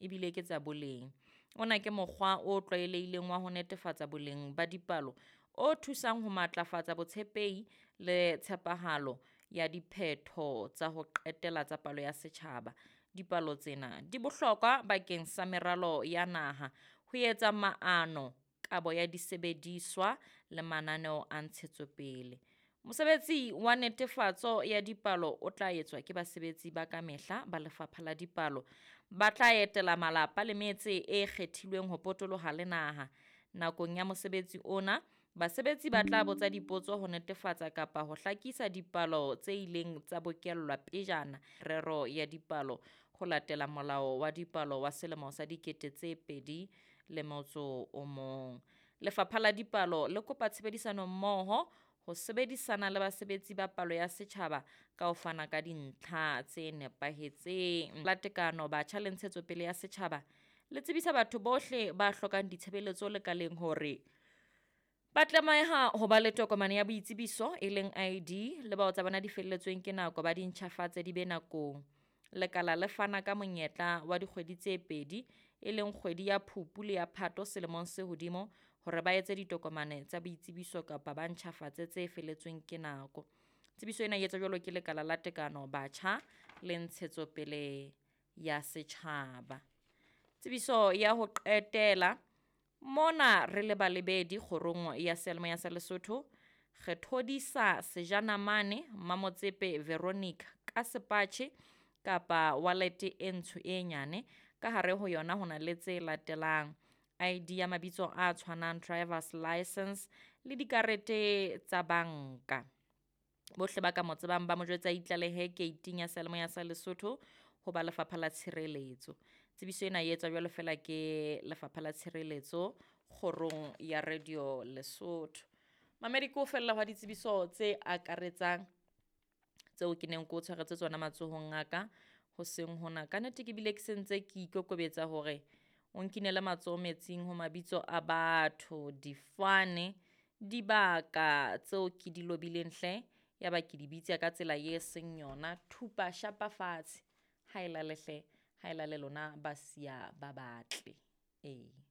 ebile ke tsa boleng. Ona ke mokgwa o tlwaelehileng wa ho netefatsa boleng ba dipalo o thusang ho matlafatsa botshepehi le tshepahalo ya diphetho tsa ho qetela tsa palo ya setjhaba. Dipalo tsena di bohlokwa bakeng sa meralo ya naha, ho etsa maano, kabo ya disebediswa le mananeo a ntshetsopele. Mosebetsi wa netefatso ya dipalo o tla etswa ke basebetsi ba kamehla ba Lefapha la Dipalo ba tla etela malapa le metse e kgethilweng ho potoloha le naha. Nakong ya mosebetsi ona, basebetsi ba tla botsa dipotso ho netefatsa kapa ho hlakisa dipalo tse ileng tsa bokellwa pejana rero ya dipalo ho latela Molao wa Dipalo wa selemo sa 2001. Lefapha la Dipalo le kopa tshebedisano mmoho ho sebedisana le basebetsi ba palo ya setjhaba ka ho fana ka dintlha tse nepahetseng. La Tekano, Batjha le Ntshetsopele ya Setjhaba le tsebisa batho bohle ba hlokang ditshebeletso lekaleng hore ba tlameha ho ba le tokomane ya boitsebiso e leng ID le bao tsa bona di felletsweng ke nako ba di ntjhafatse di be nakong. Lekala le fana ka monyetla wa dikgwedi tse pedi e leng kgwedi ya Phupu le ya Phato selemong se hodimo hore ba etse ditokomane tsa boitsebiso kapa ba ntjhafatse tse feletsweng ke nako. Tsebiso ena e etswa jwalo ke Lekala la Tekano, Batjha le Ntshetsopele ya Setjhaba. Tsebiso ya ho qetela mona re le balebedi kgorong ya seyalemoya sa Lesotho re thodisa Sejanamane Mmamotsepe Veronica ka sepatjhe kapa wallet e ntsho e nyane. Ka hare ho yona ho na le tse latelang: ID ya mabitso a tshwanang, driver's license le dikarete tsa banka. Bohle ba ka mo tsebang ba mo jwetsa itlalehe keiting ya seyalemoya sa Lesotho ho ba Lefapha la Tshireletso. Tsebiso ena e etswa jwalo fela ke Lefapha la Tshireletso kgorong ya Radio Lesotho. Mamedi ke ho fella hwa ditsebiso tse akaretsang tseo ke neng ke o tshwaretse tsona matsohong a ka hoseng hona. Ka nnete ke bile ke sentse ke ikokobetsa hore o nkinele matsoho metsing ho mabitso a batho, difane, dibaka tseo ke di lobileng hle, ya ba ke di bitsa ka tsela e seng yona. Thupa shapa fatshe, ha e lale hle, ha e lale lona ba siya ba batle. Ee.